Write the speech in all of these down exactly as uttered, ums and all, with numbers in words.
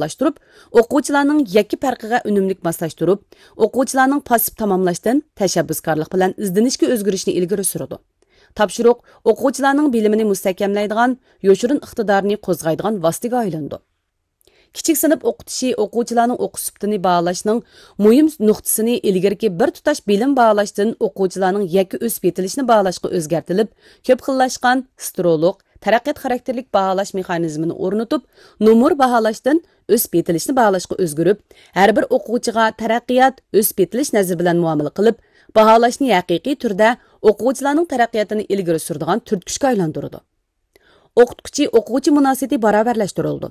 ئورۇنلاشتۇرۇپ، ئوقۇغۇچىلارنىڭ يەككە پەرقىگە ئۈنۈملۈك ماسلاشتۇرۇپ، ئوقۇغۇچىلارنىڭ پاسسىپ تاماملاشتىن تەشەببۇسكارلىق بىلەن ئىزدىنىشكە ئۆزگىرىشىنى ئىلگىرى سۈرىدۇ. تاپشۇرۇق ئوقۇغۇچىلارنىڭ بىلىمىنى مۇستەھكەملەيدىغان، يوشۇرۇن ئىقتىدارىنى قوزغايدىغان ۋاسىتىگە ئايلىنىدۇ. كىچىك سىنىپ ئوقۇتۇشى ئوقۇغۇچىلارنىڭ ئوقۇش سۈپىتىنى باھالاشنىڭ مۇھىم نۇقتىسىنى ئىلگىرىكى بىر تۇتاش بىلىم باھالاشتىن ئوقۇغۇچىلارنىڭ يەككە ئۆسۈپ يېتىلىشىنى باھالاشقا ئۆزگەرتىلىپ، كۆپ خىللاشقان، سترولۇق، تەرەققىيات خاراكتېرلىك باھالاش مېخانىزمىنى ئورنىتىپ، نومۇر باھالاشتىن ئۆسۈپ يېتىلىشنى باھالاشقا ئۆزگىرىپ، ھەر بىر ئوقۇغۇچىغا تەرەققىيات، ئۆسۈپ يېتىلىش نەزىرى بىلەن مۇئامىلە قىلىپ، باھالاشنى ھەقىقىي تۈردە ئوقۇغۇچىلارنىڭ تەرەققىياتىنى ئىلگىرى سۈرىدىغان تۈرتكۈچكە ئايلاندۇرىدۇ. ئوقۇتقۇچى ئوقۇغۇچى مۇناسىۋىتى باراۋەرلەشتۈرۈلىدۇ.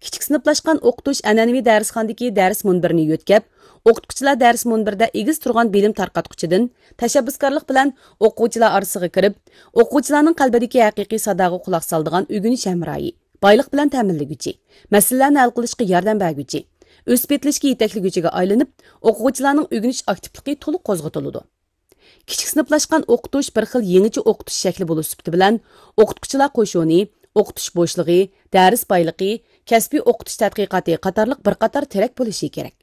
كىچىك سىنىپلاشقان ئوقۇتۇش ئەنئەنىۋى دەرسخانىدىكى دەرس مۇنبىرىنى يۆتكەپ، ئوقۇتقۇچىلار دەرس مۇنبىرىدە ئېگىز تۇرغان بىلىم تارقاتقۇچىدىن تەشەببۇسكارلىق بىلەن ئوقۇغۇچىلار ئارىسىغا كىرىپ، ئوقۇغۇچىلارنىڭ قەلبىدىكى ھەقىقىي ساداغا قۇلاق سالىدىغان ئۆگىنىش ھەمراھى، بايلىق بىلەن تەمىنلىگۈچى، مەسىلىلەرنى ھەل قىلىشقا ياردەم بەرگۈچى، ئۆسۈپ يېتىلىشكە يېتەكلىگۈچىگە ئايلىنىپ، ئوقۇغۇچىلارنىڭ ئۆگىنىش ئاكتىپلىقى تولۇق قوزغىتىلىدۇ. كىچىك سىنىپلاشقان ئوقۇتۇش بىر خىل يېڭىچە ئوقۇتۇش شەكلى بولۇش سۈپىتى بىلەن، ئوقۇتقۇچىلار قوشۇنى، ئوقۇتۇش بوشلۇقى، دەرس بايلىقى، كەسپىي ئوقۇتۇش تەتقىقاتى قاتارلىق بىر قاتار تىرەك بولۇشى كېرەك.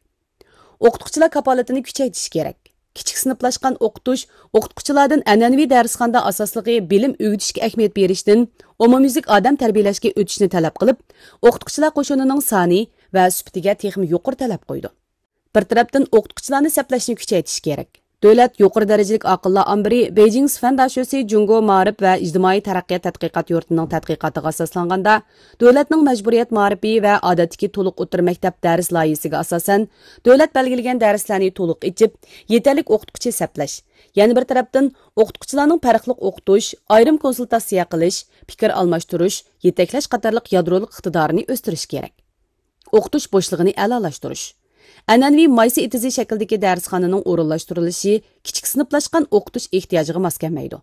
ئوقۇتقۇچىلار كاپالىتىنى كۈچەيتىش كېرەك. كىچىك سىنىپلاشقان ئوقۇتۇش ئوقۇتقۇچىلاردىن ئەنئەنىۋى دەرسخانىدا ئاساسلىقى بىلىم ئۆگىتىشكە ئەھمىيەت بېرىشتىن ئومۇميۈزلۈك ئادەم تەربىيەلەشكە ئۆتۈشنى تەلەپ قىلىپ، ئوقۇتقۇچىلار قوشۇنىنىڭ سانى ۋە سۈپىتىگە تېخىمۇ يۇقىرى تەلەپ قويىدۇ. بىر تەرەپتىن ئوقۇتقۇچىلارنى سەپلەشنى كۈچەيتىش كېرەك. دۆلەت يۇقىرى دەرىجىلىك ئاقىللار ئامبىرى بېيجىڭ سۈفەن داشۆسى جۇڭگو مائارىپ ۋە ئىجتىمائىي تەرەققىيات تەتقىقات يۇرتىنىڭ تەتقىقاتىغا ئاساسلانغاندا، دۆلەتنىڭ مەجبۇرىيەت مائارىپى ۋە ئادەتتىكى تولۇق ئوتتۇرا مەكتەپ دەرس لايىھىسىگە ئاساسەن، دۆلەت بەلگىلىگەن دەرسلەرنى تولۇق ئېچىپ، يېتەرلىك ئوقۇتقۇچى سەپلەش، يەنە بىر تەرەپتىن ئوقۇتقۇچىلارنىڭ پەرقلىق ئوقۇتۇش، ئايرىم كونسۇلتاتسىيە قىلىش، پىكىر ئالماشتۇرۇش، يېتەكلەش قاتارلىق يادرولۇق ئىقتىدارىنى ئۆستۈرۈش كېرەك. ئوقۇتۇش بوشلۇقىنى ئەلالاشتۇرۇش. ئەنئەنىۋى مايسا ئېتىزى شەكلىدىكى دەرسخانىنىڭ ئورۇنلاشتۇرۇلۇشى كىچىك سىنىپلاشقان ئوقۇتۇش ئېھتىياجىغا ماس كەلمەيدۇ.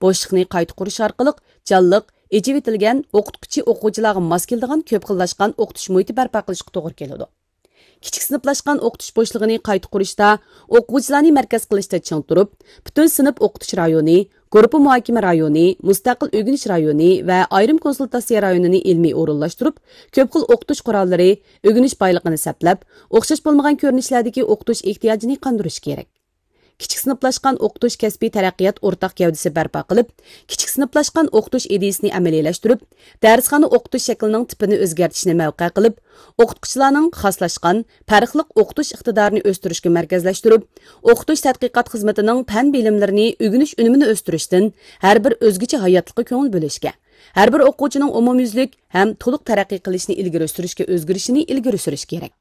بوشلۇقنى قايتا قۇرۇش ئارقىلىق جانلىق، ئېچىۋېتىلگەن، ئوقۇتقۇچى ئوقۇغۇچىلارغا ماس كېلىدىغان كۆپ خىللاشقان ئوقۇتۇش مۇھىتى بەرپا قىلىشقا توغرا كېلىدۇ. كىچىك سىنىپلاشقان ئوقۇتۇش بوشلۇقىنى قايتا قۇرۇشتا ئوقۇغۇچىلارنى مەركەز قىلىشتا چىڭ تۇرۇپ، پۈتۈن سىنىپ ئوقۇتۇش رايونى، گۇرۇپپا مۇھاكىمە رايونى، مۇستەقىل ئۆگىنىش رايونى ۋە ئايرىم كونسۇلتاتسىيە رايونىنى ئىلمىي ئورۇنلاشتۇرۇپ، كۆپ خىل ئوقۇتۇش قوراللىرى، ئۆگىنىش بايلىقىنى سەپلەپ، ئوخشاش بولمىغان كۆرۈنۈشلەردىكى ئوقۇتۇش ئېھتىياجىنى قاندۇرۇش كېرەك. كىچىك سىنىپلاشقان ئوقۇتۇش كەسپىي تەرەققىيات ئورتاق گەۋدىسى بەرپا قىلىپ، كىچىك سىنىپلاشقان ئوقۇتۇش ئىدىيىسىنى ئەمەلىيلەشتۈرۈپ، دەرسخانا ئوقۇتۇش شەكلىنىڭ تىپىنى ئۆزگەرتىشنى مەۋقە قىلىپ، ئوقۇتقۇچىلارنىڭ خاسلاشقان، پەرقلىق ئوقۇتۇش ئىقتىدارىنى ئۆستۈرۈشكە مەركەزلەشتۈرۈپ، ئوقۇتۇش تەتقىقات خىزمىتىنىڭ پەن بىلىملىرىنى ئۆگىنىش ئۈنۈمىنى ئۆستۈرۈشتىن ھەر بىر ئۆزگىچە ھاياتلىققا كۆڭۈل بۆلۈشكە، ھەر بىر ئوقۇغۇچىنىڭ ئومۇميۈزلۈك ھەم تولۇق تەرەققىي قىلىشىنى ئىلگىرى سۈرۈشكە ئۆزگىرىشىنى ئىلگىرى سۈرۈش كېرەك.